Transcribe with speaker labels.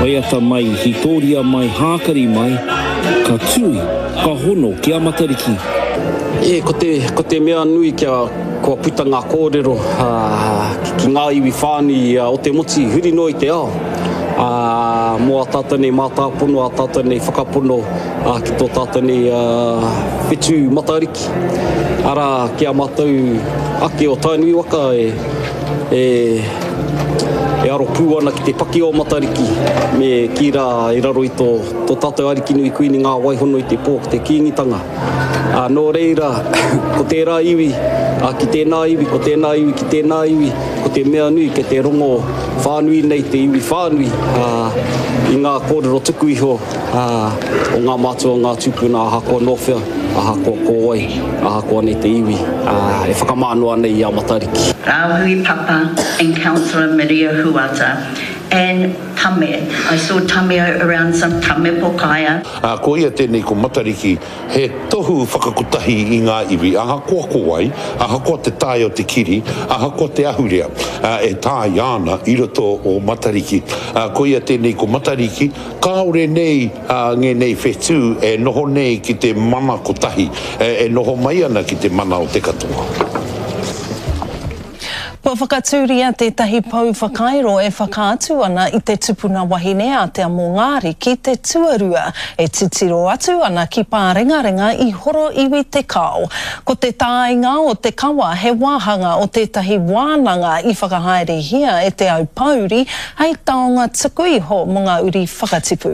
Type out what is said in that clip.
Speaker 1: Waiata mai, hītōria mai, hākari mai, ka tui, ka hono ki a Matariki.
Speaker 2: E, ko te, ko te mea nui kia, kua puta ngā kōrero ki ngā iwi whānui o te motu huri noa i te ao, ā, mō ā tātou nei mātāpono, ā tātou nei whakapono ki tō tātou nei whetū Matariki. Arā, ki a mātou ake o Tainui waka e, e, e aro pū ana ki te paki o Matariki me kī rā i raro i tō, tō tātou Arikinui Kuini Ngā Waihono i te pō ki te Kīngitanga. Ā, nō reira, ko tērā iwi, ā, ki tēnā iwi, ko tēnā iwi, ki tēnā iwi, ko te mea nui kei te rongo whānui nei te iwi whānui, ā, i ngā kōrero tuku iho, ā, o ngā mātua, o ngā tūpuna, ahakoa nō whea, ahakoa ko wai, ahakoa nei te iwi, ā, e whakamānoa nei i a Matariki.
Speaker 3: Rāhui Papa and Councillor Maria Huata and Tame, I saw Tame around some Tame Pokaia.
Speaker 4: Ā, ko ia tēnei ko Matariki, he tohu whakakotahi i ngā iwi, ahakoa ko wai, ahakoa te tae o te kiri, ahakoa te ahurea, ā, e tāia ana i roto o Matariki. Ā, ko ia tēnei ko Matariki, kāore nei, ā, ngēnei whetū e noho nei ki te mana kotahi, e noho mai ana ki te mana o te katoa.
Speaker 5: Kua whakatūria tētahi pou whakairo e whakaatu ana i te tupuna wahine a Te Amongāriki te tuarua e titiro atu ana ki Pārengarenga i Horoiwi Te Kao. Ko te tāinga o te kawa he wāhanga o tētahi wānanga i whakahaerehia e Te Aupōuri hei taonga tuku iho mō ngā uri whakatipu.